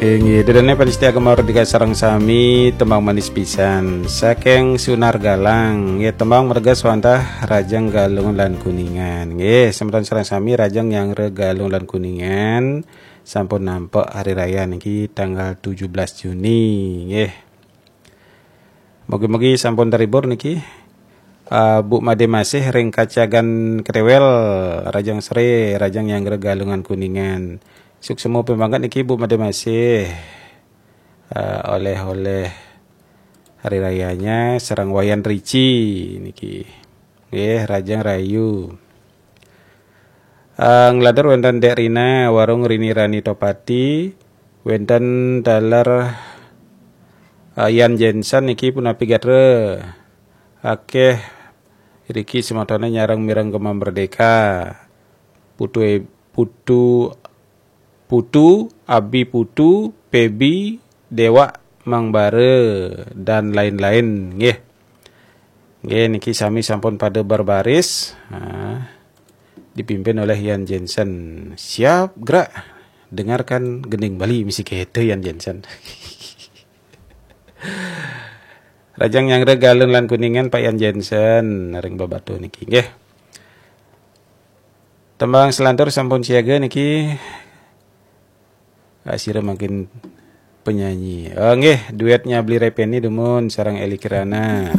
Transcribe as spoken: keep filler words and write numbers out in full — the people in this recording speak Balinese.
Inggih, ida dané pamiarsa Gema Merdeka sareng sami, tembang manis pisan saking Sunar Galang. Nggih, tembang merges wantah Rajang Galungan lan Kuningan. Nggih, semeton sareng sami, Rajang Nyanggra Galungan lan Kuningan sampun nampek hari raya niki tanggal tujuh belas Juni. Nggih. Mugi-mugi sampun terhibur niki. Ah, Bu Made Masih ring Kacagan Ketewel, Rajang Sore, Rajang Nyanggra Galungan Kuningan. Suksma banget niki Bu Made Masih. Ah, oleh-oleh hari rayanya sareng Wayan Rici niki. Nggih, Rajang Rahayu. Ah, nglantur wénten Dék Rina, warung Rini Rani Topati, wénten taler, ah, Yan Jensen niki punapi gatra. Akéh riki semetoné nyareng mireng Gema Merdeka. Putu e-, Putu, Putu, Abi Putu, Pebi, Dewa, Mang Bara, dan lain-lain, nggih. Nggih, niki sami sampun pada berbaris. Nah, dipimpin oleh Yan Jensen. Siap gerak. Dengarkan gending Bali misi kete Yan Jensen. Rajang Nyanggra Galungan lan Kuningan Pak Yan Jensen ring Babatuh niki, nggih. Tembang selantur sampun siaga niki. Ah, sira mangkin penyanyi. Oh, nggih, duetnya Bli Repeni dumun sareng Eli Kirana.